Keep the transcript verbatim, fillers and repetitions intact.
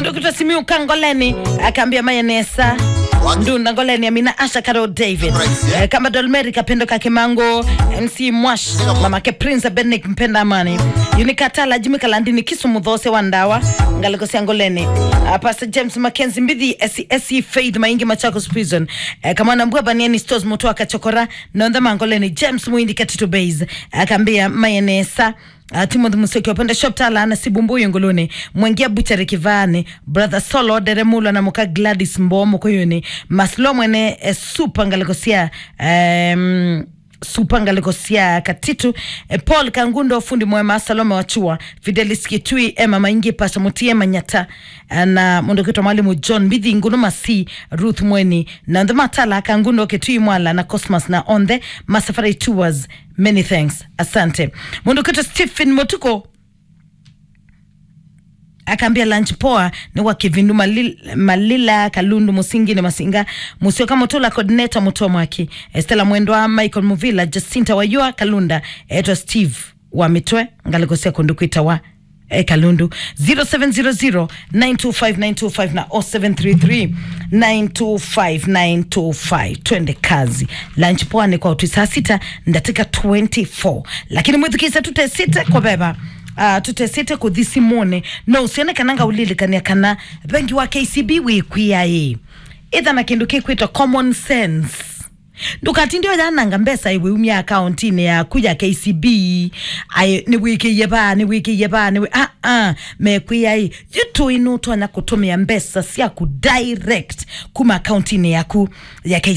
Ndokita Simiu Kangoleni, akambia maye nesa. Ndunda Ngoleni, Amina Asha, Carol David. Eh, Kamba Dolmeri, Kapendo ka Kimango, M C Mwash, Mama ke Prince Benek Mpenda Amani. Unikatala, Jimmy Kalandini, Kisumu Those wa Ndawa, Ngaliko sia Ngoleni. Ah, Pastor James Mackenzie Mbithi, S E S E Faith Maingi, Machakos Prison. Eh, Kamwana Mbua Baniani Stores Mutu akachokora, Nonthe Mangoleni, James Muindi Katito Base, akambia maye nesa. Ah, Timothy Musyoki, Openda Shop Tala, na Sibumbuyu Nguluni, Mwengia Butchery Kivani, Brother Solo, Dere Mulwa na Muka Gladys Mbo Mukuyuni, Maslo Mwene, eh, Super Ngaliko sia, em, Super Ngaliko sia Katitu, eh, Paul Kangundo, Fundi Mwema, Salome Wachua, Fidelis Kitui, Emma Maingi, Pastor Mutie Manyata, eh, na mũndũ ũkwĩtwa Mwalimu John Mbithi, Ngunu Masi, Ruth Mweni, na Nthe Matala, Kangundo, Kitui Mwala, na Cosmas, na Onthe, Masafari Tours, Many thanks. Asante. Mũndũ ũkwĩtwa Stephen Mutuko, akambia lunch poa, nĩ wa Kivindu Malil-, Malila, Kalundu, Musingi nĩ Masinga, Musyoka Mutula, coordinator Mutua Mwaki, Estela Mwendwa, Michael Muvila, Jacinta Wayua, Kalunda, etwa Steve wa Mitwe, Ngaliko sia kũndũ kwĩtawa, eh, Kalundu. Zero seven zero zero, nine two five, nine two five na oh seven three three, nine two five, nine two five. Twende kazi. Lunch poa nĩ kwa ũtwi saa sita, ndatĩka twenty-four. Lakini mwĩthukĩĩsya tũtesĩte kũveva, ah, tũtesĩte kũthi simũnĩ. No ũsione kana ngaũlilikania kana vengi wa K C B wĩkwĩa ĩ. Ĩtha na kĩndũ kĩkwĩtwa common sense. Ndũkatinde ũyananga mbesa ĩwĩumya akauntinĩ yaku ya K C B, aĩ, nĩwĩkĩie vaa, nĩwĩkĩie vaa, nĩwĩ-, ah, ah, mekwĩa ĩ, yu tũĩ nũtonya kũtũmĩa mbesa syaku direct kuma akauntinĩ yaku ya K C B.